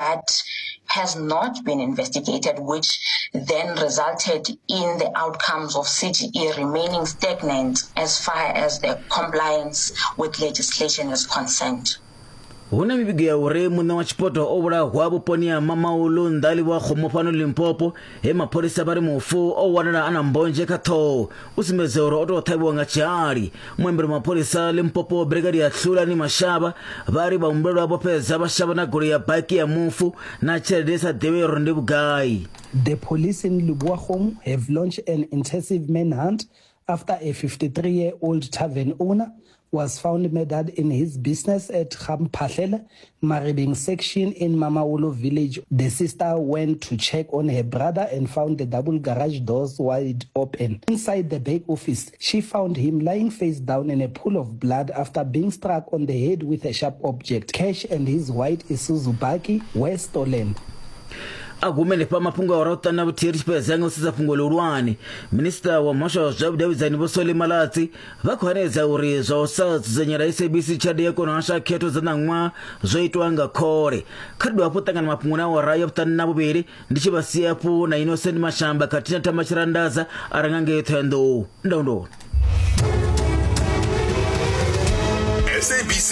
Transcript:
That has not been investigated, which then resulted in the outcomes of CGE remaining stagnant as far as the compliance with legislation is concerned. Hu na mivhigo ya uri muṋe wa tshipoto o vhulahwa vhuponi ha Mamaulu nnḓa livha Kgomo fhano Limpopo, he mapholisa vha ri mufu o wanala a na mbonzhe kha ṱhoho u sumbedza uri o tou ṱhavhiwa nga tshihali. Muambeli wa mapholisa Limpopo Brigadier Hlulani Mashaba vha ri vhahumbulelwa vho fhedza vha shavha na goloi ya baki ya mufu na tshelede i sa ḓivhei uri ndi vhugai. The police in Lebowa have launched an intensive manhunt after a 53-year-old tavern owner was found murdered in his business at Gamphahlele, Maribeng section in Mamaholo village. The sister went to check on her brother and found the double garage doors wide open. Inside the back office, she found him lying face down in a pool of blood after being struck on the head with a sharp object. Cash and his white Isuzu bakkie were stolen. A gume henefha mafhungo a ora u ṱana vhuthihi ri tshi fhedza nga u sedza fhungo ḽihulwane. Minisiṱa wa muhasho wa zwa vhudavhidzani Vho Solly Malatsi vha khou hanedza uri zwa u sa dzudzanyela SABC tshelede ya kona u hasha khetho dza ṋaṅwaha zwo itwa nga khole. Kha ri dovhe hafhu ṱangana mafhungoni a awara ya vhuṱanu na vhuvhili ndi tshi vha sia hafhu na Innocent Mashamba khathihi na Thamba Tshirandadza a re nga ngei Ṱhohoyanḓou. Ndau ndoni. SABC.